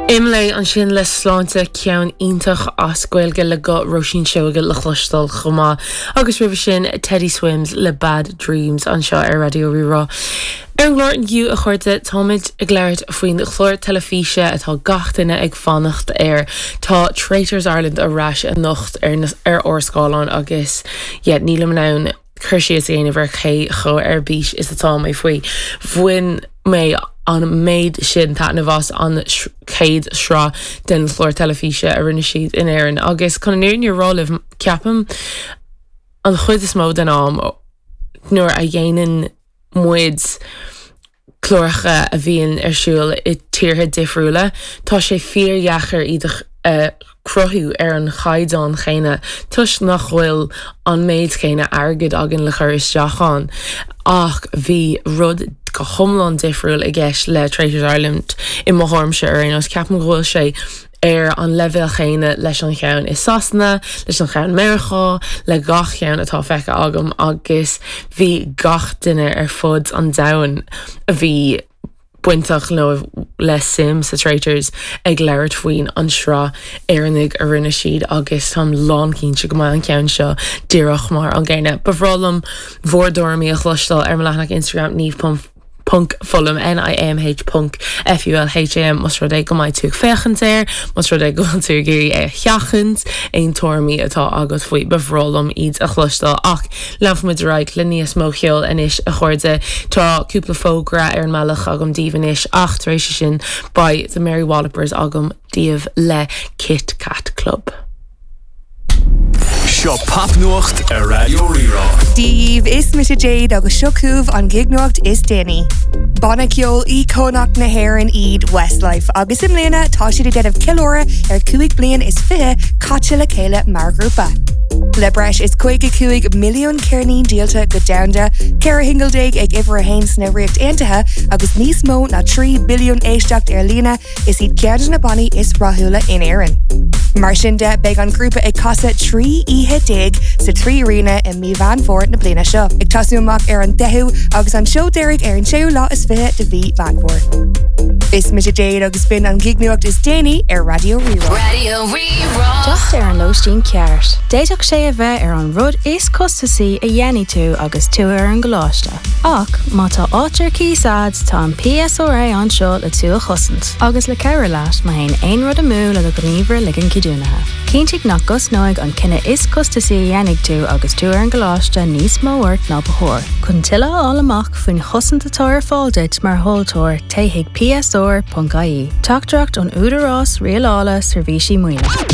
Imlé ansin le Sláinte, ceann iontach as Gaeilge le guth Róisín Seoige le cloisteáil chomh maith. Agus roimhe sin, Teddy Swims le Bad Dreams anseo ar Raidió Rí-Rá. Ar an gclár inniu, a chairde, táimid ag labhairt faoin chlár teilifíse atá gach duine ag fanacht air. Tá Traitors Ireland ar ais anocht ar na ar ár scáileáin agus yeah, nílim in ann cur síos a dhéanamh ar cé chomh ar bís is atá mé faoi. Bhain mé an méid sin taitneamh as an chéad sraith den chlár teilifíse a rinne siad in Éirinn agus chun an fhírinne a rá libh, ceapaim an chuid is mó den am nuair a dhéanann muid cláracha a bhíonn ar siúl i tíortha difriúla, tá sé fíordheacair iad a chruthú ar an chaighdeán chéanna toisc nach bhfuil an méid céanna airgid againn le cur isteach ann. Ach bhí rud go hiomlán difriúil i gceist le Traitors Ireland i mo thuairimse ar aon nós. Ceapaim go bhfuil sé ar an leibhéal chéanna leis an cheann i Sasana, leis an cheann Meiriceá, le gach ceann atá feicthe agam agus bhí gach duine ar fud an domhain a bhí bainteach nó le suim sa Traitors ag labhairt faoin an sraith Éireannaigh a rinne siad agus táim lánchinnte go mbeidh an ceann seo díreach mar an gcéanna. Ba bhreá liom bhur dtuairimí a chloisteáil ar mo leathanach Instagram Niamh ponc Fulham, NIAMH ponc FULHAM, más rud é go mbeidh tú ag féachaint air, más rud é go bhfuil tú ag iarraidh é a sheachaint, aon tuairimí atá agat faoi, ba bhreá liom iad a chloisteáil. Ach leanfaimid ar aghaidh le níos mó ceoil anois, a chairde. Tá cúpla fógra ar an mbealach agam daoibh anois, ach tar éis sin, beidh The Mary Wallopers agam daoibh le Kit Kat Club. Seo Popnuacht ar Raidió Rí-Rá. Dia dhaoibh, is mise Jade agus seo chugaibh an ghignuacht is déanaí. Banna ceoil íocónach na hÉireann iad Westlife agus i mbliana tá siad ag déanamh ceiliúradh ar 25 bliain caite le chéile mar ghrúpa. Le breis is 55 milliún ceirnín díolta go domhanda, 14 shingil ag uimhir a haon sna Ríocht Aontaithe agus níos mó ná 3 billiún éisteacht ar líne, Is iad ceann de na bannaí is rathúla in Éirinn. Mar sin de, beidh an grúpa ag casadh 13 oíche sa 3 Arena i mí Mheán Fómhair na bliana seo, ag tosú amach ar an 10ú agus an seó deiridh ar an séú lá is 20 de mhí Mheán Fómhair. Is mise Jade agus b'in an ghignuacht is déanaí ar Raidió Rí-Rá. Raidió Rí-Rá. Teacht ar an lóistín ceart. D'fhéadfadh sé a bheith ar an rud is costasaí a dhéanfaidh tú agus tú ar an gcoláiste. Ach má tá áit ar cíos a'd, tá an PSRA anseo le tú a chosaint, agus le cabhrú leat má théann aon rud amú le do ghníomhaire ligean ceadúnaithe. Cinntigh nach gcosnóidh an cinneadh is costasaí a dhéanfaidh tú agus tú ar an gcoláiste níos mó ort ná ba chóir. Chun tuilleadh a fháil amach faoin chosaint atá ar fáil duit mar thomhaltóir, téigh chuig psr.ie. Teachtaireacht ón Údarás Rialála Seirbhísí Maoine.